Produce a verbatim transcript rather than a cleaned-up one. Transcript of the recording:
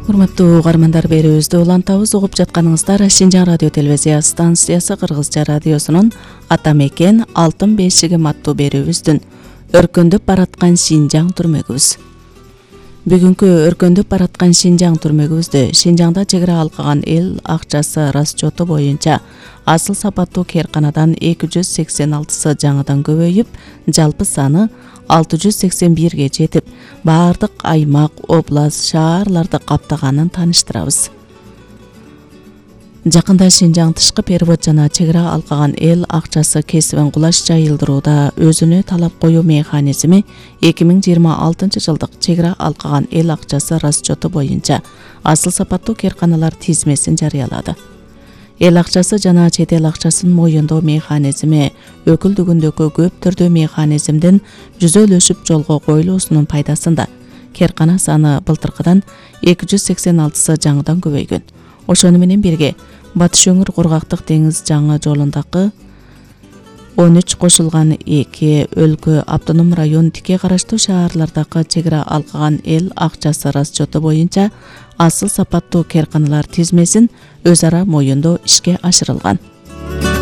Урматтуу угармандар, берүүбүздү улантабыз. Угуп жатканыңыздар Шинжаң радио телевизия станциясы Кыргызча радиосунун Ата мекен алтын бешигим аттуу берүүбүздүн өркөндөп бараткан Шинжаң түрмөгүбүз. Бүгүнкү өркөндөп бараткан Шинжаң түрмөгүбүздө Шинжаңда чек ара алкаган эл акчасы расчету боюнча асыл сапаттуу кээрканадан эки жүз сексен алтысы жаңыдан көбөйүп, жалпы саны алты жүз сексен бирге жетип, баардык аймак, област, шаарларды каптаганын тааныштырабыз. Жакында Шинжаң тышкы перевод жана чек ара алкаган эл акчасы кесибин кулаш жайылдырууда өзүнө талап коюу механизми эки миң жыйырма алтынчы жылдык чек ара алкаган эл акчасы расчету боюнча асыл сапаттуу кээрканалар тизмесин жарыялады. Эл акчасы жана чет эл акчасын моюндоо механизми өкүлдүгүндөгү көп түрдүү механизмдин жүзөлөшүп жолго коюлуусунун пайдасында кээркана саны былтыркыдан эки жүз сексен алтысы жаңыдан көбөйгөн. Ошону менен бирге Батыш өңүр кургактык деңиз жаңы жолундагы он үч кошулган эки өлкө автоном район тике караштуу шаарлардагы чек ара алкаган эл акчасы расчету боюнча асыл сапаттуу кээрканалар тизмесин өз ара моюндоо ишке ашырылган.